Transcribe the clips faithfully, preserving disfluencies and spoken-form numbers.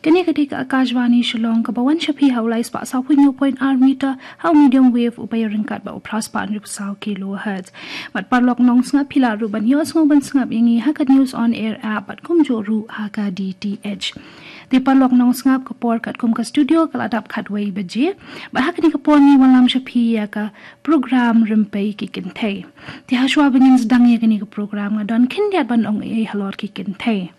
Kane ka dei ka Akashvani Shillong kaba wan sha phi ha u lai spah saw phew hynñiew point ar meter ha u medium wave uba ïaryngkat bad u phra spah hynriew phew saw kilohertz. Bad paralok nongsngap phi lah ruh ban ïohsngew ban sngap ïa ngi ha ka News on Air app bad kumjuh ruh ha ka D T H. Te paralok nongsngap, ka por katkum ka studio ka la dap khatwei baje. Bad ha kane ka por ngi wanlam sha phi ïa ka program Rympei ki Kynthei. Te hashwa ba ngin sdang ïa kane ka program nga don khyndiat ban ong ei halor ki kynthei.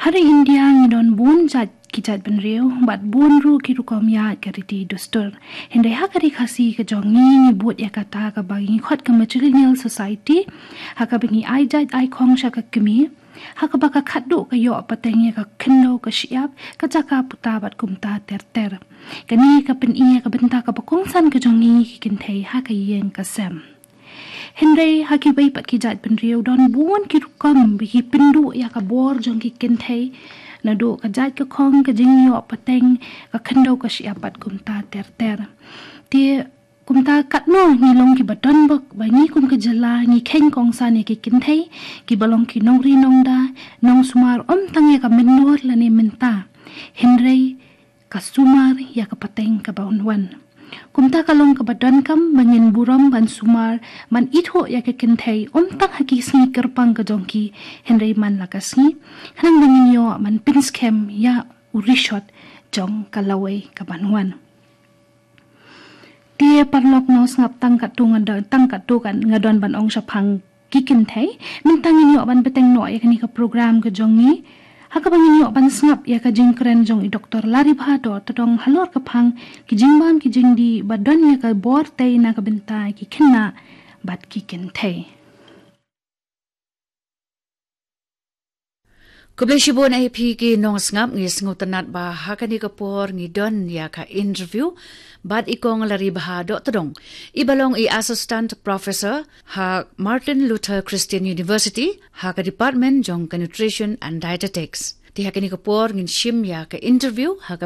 Ha ri India ngi don bun jait ki jaitbynriew bad bun ruh ki rukom ïaid ka riti dustur. Hynrei ha ka ri Khasi ka jong ngi ngi bud ïa kata kaba ngi khot ka matrilineal society, ha kaba ngi ai jait ai khong sha ka kmie, ha kaba ka khatduh ka ïoh pateng ïa ka khyndew ka shyiap, ka jaka puta bad kumta ter ter. Kane ka pyni ïa ka bynta kaba kongsan ka jong ngi ki kynthei ha ka ïing ka sem. Hynrei ha kiwei pat ki jaitbynriew don bun ki rukom ba ki pynduh ïa ka bor jong ki kynthei, naduh ka jait ka khong, ka jingïoh pateng, ka khyndew ka shyiap bad kumta ter ter. Te kumta katno ngi long kiba don bok ba ngi kum ka jylla ngi kheiñ kongsan ïa ki kynthei kiba long ki nongri nongda, nongsumar ym tang ïa ka mynnor lane mynta, hynrei ka sumar ïa ka pateng kaba un wan. Kumta ka long kaba donkam ba ngin burom ban sumar, ban ithuh ïa ka kynthei ym tang ha ki sngi kyrpang ka jong ki, hynrei man la ka sngi, khnang ba ngin ïoh ban pynskhem ïa u rishot jong ka lawei kaban wan. Te paralok nongsngap, tang katto nga don, tang katto kan nga don ban ong shaphang ki kynthei. Mynta ngin ïoh ban bteng noh ïa kane ka program ka jong ngi, ha kaba ngin ïoh ban sngap ïa ka jingkren jong i Doktor Laribha Dohtdong halor ka phang ki jingbam ki jingdih ba don ïa ka bor tei na ka bynta ki khynnah bad ki kynthei. Khublei shibun ïa phi ki nongsngap. Ngi sngewtynnat ba ha kane ka por ngi don ïa ka interview bad i Kong Laribha Dohtdong, iba long i Assistant Professor ha Martin Luther Christian University ha ka Department jong ka Nutrition and Dietetics. Te ha kane ka por ngin shim ïa ka interview ha ka